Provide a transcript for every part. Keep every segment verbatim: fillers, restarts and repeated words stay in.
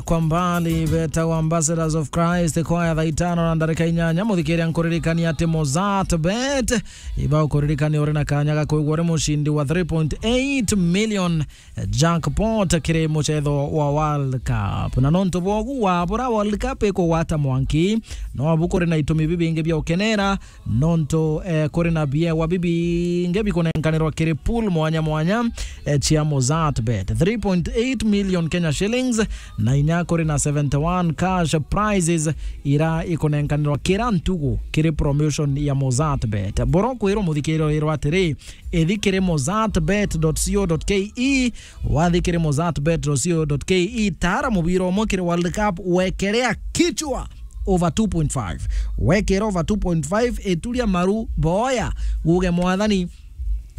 Kwa mbali betagwa Ambassadors of Christ Choir, thaa itano na ndarika inyanya. Muthikiria, nkuririkania ati Mozart Bet iba ukuririkania uri na kanya ga kwigua uri mucindi wa three point eight million jackpot kiri mucetho wa World Cup. Na nontu bwogu wabura World Cup ikugwata mwanki, no abu kuri na itumi bibingi bia ukenera, nontu, eh, kuri na biewa bibingi bikunenkanirwa kiri pool mwanya mwanya, eh, cia Mozart Bet. Three point eight million Kenya shillings, na inya kuri na seventy-one cash prizes ira ikunenkanirwa kira ntugu kiri promotion ya Mozart Bet. Boro kwirwo muthikiria wirwa atiri, ithi kiri mozart bet dot co dot ke. Wathi kiri mozart bet dot co dot ke, tara mubira umwe kiri World Cup, wekerea kichwa over two point five. Wekera over two point five, ituria maru, boya, guge, "Mwathani,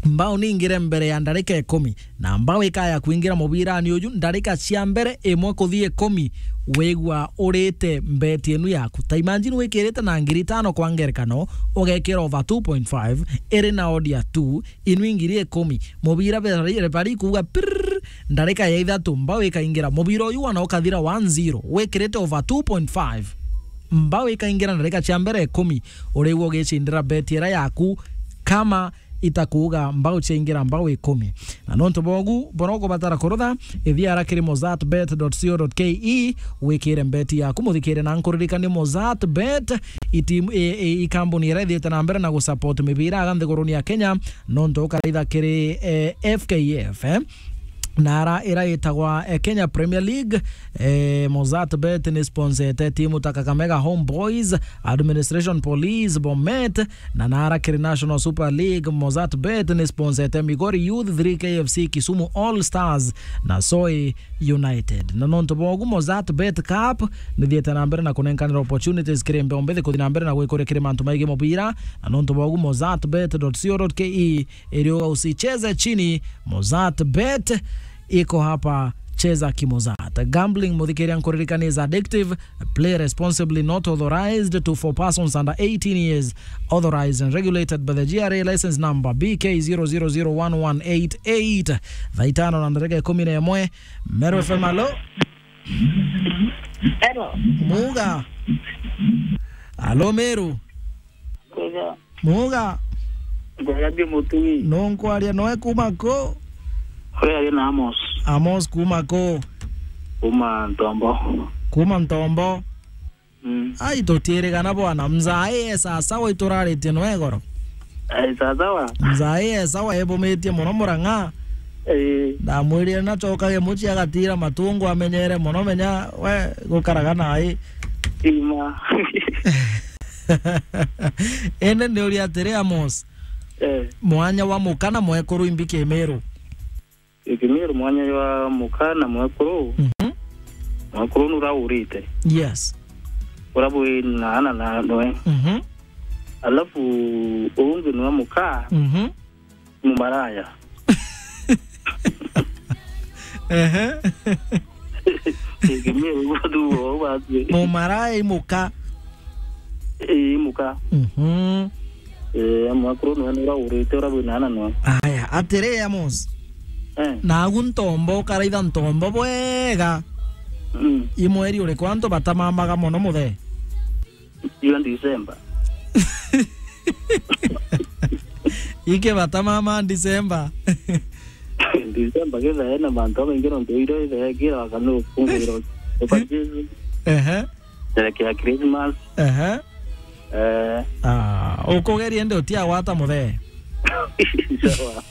mbao ningire mbere ya ndarika ikumi." Na mbao ikaya kwingira mubirani uju ndarika cia mbere imwe kuthi ikumi, wigua urite mbeti inu yaku. Ta imagine wikirite na ngiri itano kwa ngerekano, ugekira over two point five, iri na odd ya two, inu ingiri ikumi. Mubira bari, bari kuuga pirrrr, ndarika ya ithatu, mbao ikaingira. Mubira uyu wana ukathira one zero, wikirite over two point five. Mbao ikaingira ndarika cia mbere ikumi, urigua ugicindira beti ira yaku kama itakuuga mbao ciaingira mbao ikumi. Na nontu bogu, boro ukubatara kurutha, ithi ara kiri mozart bet dot co dot ke, wikire mbeti yaku, muthikire na nkuririkanie Mozart Bet, itimu, i, i, i kambuni iria ithiite na mbere na gusupport mibira aga nthiguruni ya Kenya, nontu ukaraitha kiri, eh, F K F, eh, na ara ira itagwa, eh, Kenya Premier League. Eh, Mozart Bet ni sponsete timu ta Kakamega Homeboys, Administration Police, Bomet, na nara kiri National Super League. Mozart Bet ni sponsete Migori Youth, three K F C, Kisumu All Stars na Soi United. Na nontu bwogu, Mozart Bet Cup nithiete na mbere na kunenkanira opportunities kiri mbeo mbithi kuthi na mbere na gwikuria kiri mantu maigi mubira. Na nontu bwogu, mozart bet dot co dot ke iriuga usicheze chini. Mozart Bet iko hapa, cheza kimozart. Gambling, muthikiria, nkuririkania, is addictive. Play responsibly, not authorized to, for persons under eighteen years. Authorized and regulated by the G R A license number B K zero zero zero one one eight eight. Thaa itano na ndarika ikumi na imwe. Meru F M, alo? Hello. Muga. Alo, Meru. Kwega. Muga. Kwega ndi Mutui. Nunkwaria noe kuma ku? Uria ari na Amos. Amos kuma ku? Kuma Ntombo. Kuma Ntombo. Mm. Ai, tutiirigana bwana, mzai e sasawa, ituraritie noe goro. Ai, sasawa. Mzai e sawa, ebumitie mono Murang'a. Ii. Ndamwirire nacokage mucii agatira matungu amenyere mono, menya we gukaraga nai. Ima. Indi ndiuria atiri, Amos, eh, mwanya wa muka na mwekuru imbi Kimiru? Kimiru mwanya wa muka na mwekuru. Mhm. Mwekuru nuraurite. Yes. Ura bwi na ana na noe. Mhm. Alafu ungi ni wa muka. Mhm. Mumaraya. Ehe. Kimiru tu o basi. Mumaraya imuka. Ii, imuka. Mhm. Eh, mwekuru noe nuraurite, ura bwi na ana noe. Aya, atiri, Amos. Eh. Nagu Ntombo, ukaraitha Ntombo bwega. Mm. I mweri uriku antu batamamaga mono muthe? Iyo December. Iki batamama December? December kithae na mantu jamaingi nontu irio ithae kira wakanu kungwira uka Jesu. Ehe. Sherekea Christmas. Ehe. Eh. Ah, ukugeria ndi utiagwata muthe. Sawa.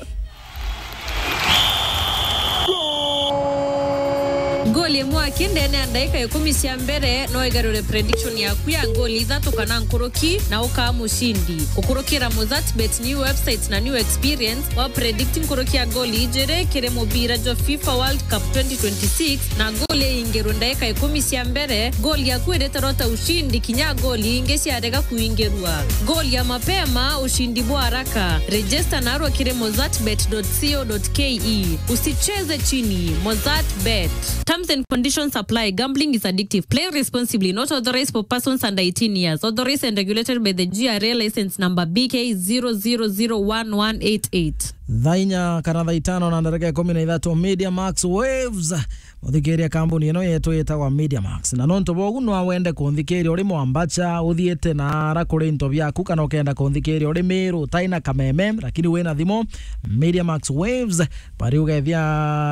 Ngoli imwe aki ndene ya ndaika ikumi cia mbere no igarure prediction yaku ya ngoli ithatu kana nkuruki, na ukaa mucindi. Gukurukira Mozart Bet new website na new experience wa predict nkuruki ya ngoli ijiri kiri mubira jwa FIFA World Cup twenty twenty-six, na ngoli iingirwe ndaika ikumi cia mbere, ngoli yaku iritarwa ta ushindi kinya ngoli ingi ciarega kuingirwa. Ngoli ya mapema, ushindi bwa haraka. Register narua kiri mozart bet dot co dot ke. Usicheze chini. Mozart Bet. Terms and conditions apply. Gambling is addictive. Play responsibly. Not authorized for persons under eighteen years. Authorized and regulated by the G R A license number B K zero zero zero one one eight eight. Thaa inya kana thaa itano na ndareka ikumi na ithatu, Media Max Waves. Uthikiria kambuni ino yetu yitagwa Media Max. Na nontu bogu no wende kunthikiria uri mwambacha, uthiite na ara kuri into biaku, kana ukenda kunthikiria uri Miru, utai na kameme, lakini wina thimu, Media Max Waves, bari ugethia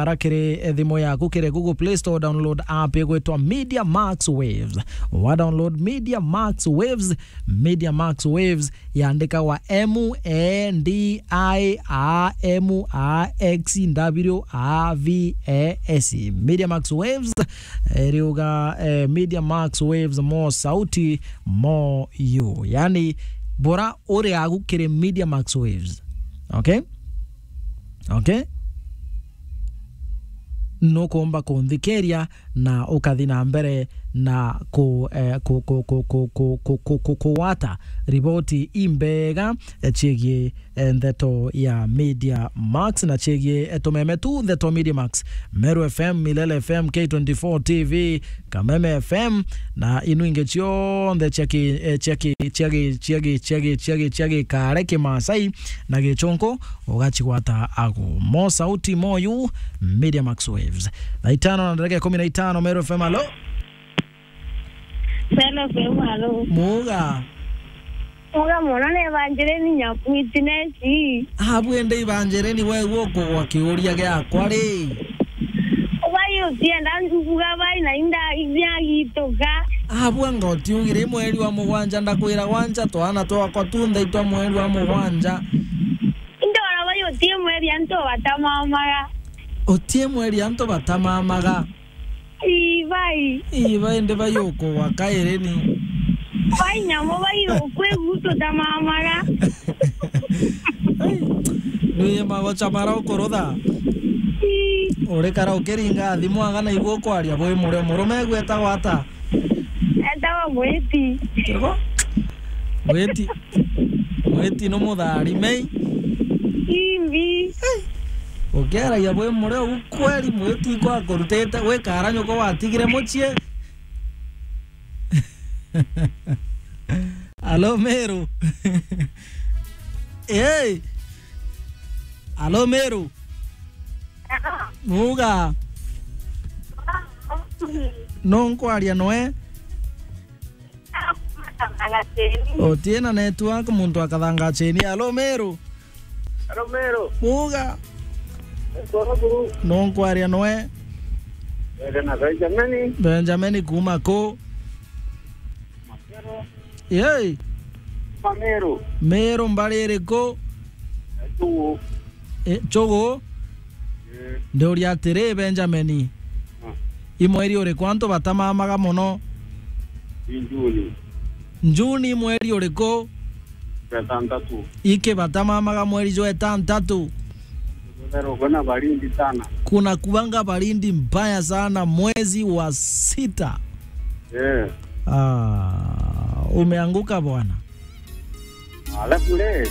ara kiri thimu yaku, kiri Google Play Store, download app igwitwa Media Max Waves. Wa download Media Max Waves, Media Max Waves, yandikagwa M E D I A M A X W A V A S. Media Max Waves, eh, riuga, eh, Media Max Waves, mo sauti, mo you. Yani, bora uri agu kiri Media Max Waves. Okay? Okay? Nukumba kunthikiria na ukathi na mbere na ku, eh, ku, ku, kugwata riboti imbega, eh, ciigie, eh, ndeto ya Media Max na ciigie, eh, tumeme tu ndeto Media Max, Meru F M, Milele F M, K twenty-four T V, Kameme F M, na inu ingi cionthe cia ki, eh, cia ki, cia gi, cia gi, cia gi, cia gi, cia gikare, kimasai na gichunku, ugacigwata agu. Mo sauti mo you, Media Max Waves. Thaa itano na ndareka ikumi na itano, Meru F M, alo? Meru F M, alo? Muga. Muga mono, ni Evangeline Nyakuiti neci. Abu ende Evangeline, we gukugwa kiuria giakwa ri? Bai utienda njukuga bai na inda iria gituka. Abu anga utiugire mweri wa mugwanja, ndakwira gwanja twana twakwa tunthe itwa mweri wa mugwanja. Indora bai utie mweri antu batamamaga. Utie mweri antu batamamaga. Ii, bai. Ii, bai, ndi bai ukugwa kairi ni. Bai nyamo bai ukwe gutu tamamaga. Ni magocha mara ukurutha. Ii. Urikara ukiringa thimu anga na igua ukwaria bwi murio. Murume gwetagwa ata? Etagwa Mwiti. Kiriko? Mwiti. Mwiti no mutharime. Imbi. Ukiaragia bwi murio u kweri, Mwiti ikwa kurutite gwikara nyoko watigire mucii. Alo, Meru. Hey. Alo, Meru. Muga. No nkwaria noe. Otiena network, muntu akathanga cheni. Alo, Meru. Alo, Meru. Muga. Alo, Meru. No nkwaria noe. Ere na Benjamin. Benjamin kuma ku? Makero. Yei. Kuma Meru. Meru mbari iriku? Chugu. E, Chugu? Eh. Ndiuria atiri, Benjamin. Ah. I mweri uriku antu batamamaga mono? I Juni. Juni mweri uriku? Jwa itantatu. Iki batamamaga mweri jwa itantatu? Meru kuna baridi sana. Kuna kuanga baridi mbaya sana mwezi wa sita. Eh. Ah, umeanguka bwana. Alafu le,